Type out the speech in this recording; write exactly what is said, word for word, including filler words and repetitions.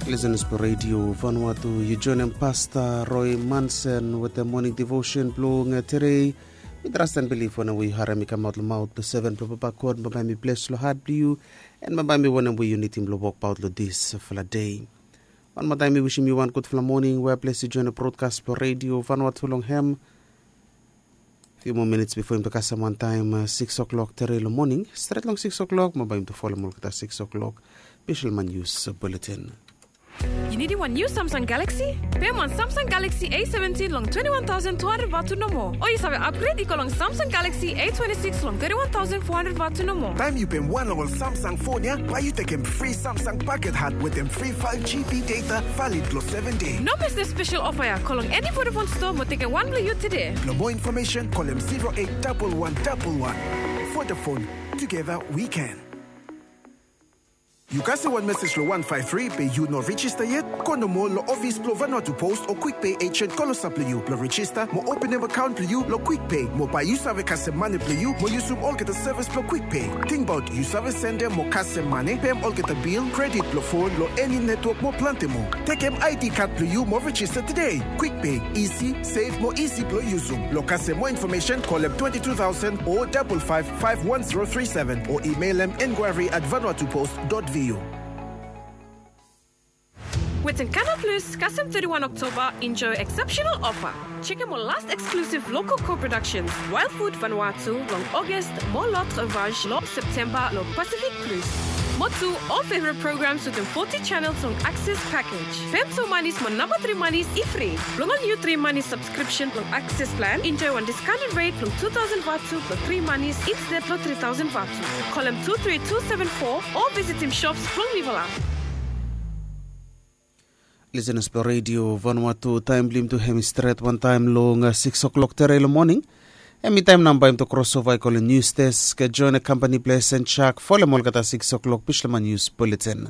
Lisenas blong redio Vanuatu, yu joinim Pasta Roy Manson wetem moning devotion blong tedei. Mi trastan bilif wanem we yu harim i kamaot long maot blong seven blong Papa God, bambae mi bles long hat blong yu, en bambae mi wanem we yu nidim blong wokbaot long disfala dei. Wan moa taem mi wisim yu wan gudfala moning we bles yu joinim brodkas blong redio Vanuatu long hem. Fiu moa minits bifo yumi to kasem wantaem sikis oklok tedei long moning, stret long sikis oklok mo bae yumi to folem olgeta sikis oklok bishelman nius buletin. Yu nidim wan niu Samsung Galaxy? Pem wan Samsung Galaxy A seventin long twenti wan taosen tu handred vatu nomo. O yu save apgred i go long Samsung Galaxy A twenti sikis long teti wan taosen fo handred vatu nomo. Taem yu pem wan long ol Samsung fon ya, bae yu tekem fri Samsung paket hat wetem fri faef GB data valid long seven dei. No mes dispesel ofa ya, go long eni Vodafone stoa mo tekem wan blong yu tede. Blong moa infomesen, kolem zero eight double one double one. Vodafone, together we can. Yu kasem wan mesej long wan faef tri be yu no rijista yet? Go nomo long ofis blong Vanuatu Post o Quick Pay agent klosap long yu blong rijista mo openem akaon blong yu long Quick Pay, mo bae yu save kasem mane blong yu mo yusum olgeta sevis blong Quick Pay. Tingbaot yu save sendem mo kasem mane, pem olgeta bil, kredit blong fon long eni netwok mo plante moa. Tekem ID kad blong yu mo rijista tede. Quick Pay, isi, sef mo isi blong yusum. Long kasem moa infomesen, kolem twenti tu taosen o dabol faef faef wan zero tri seven o imelem enquiry at vanuatupost dot vu. Wetem Canal Plus, kasem teti wan Oktoba, enjoy exceptional offer. Jekem ol las eksklusif lokal co-productions, Wild Food Vanuatu long Ogos, mo L'Autre Vache long Septemba long Pacific Plus. Mo tu ol favorit programs wetem foti channels long Access package. Pem tu manis mo namba tri manis i fri. Blong ol niu tri manis subscription blong Access plan, enjoy wan discounted rate blong tu taosen vatu blong tri manis instead long tri taosen vatu. Kolem tu tri tu seven fo o visitim shops blong Viva la. Lisenas blong redio Vanuatu, taem blong yumi tu hem i stret wantaem long sikis oklok tedei long moning. Hem i taem nao bae yumi tu krosova i go long nius desk, join kampani blong Sen Chak folem olgeta sikis oklok bishelman nius buletin.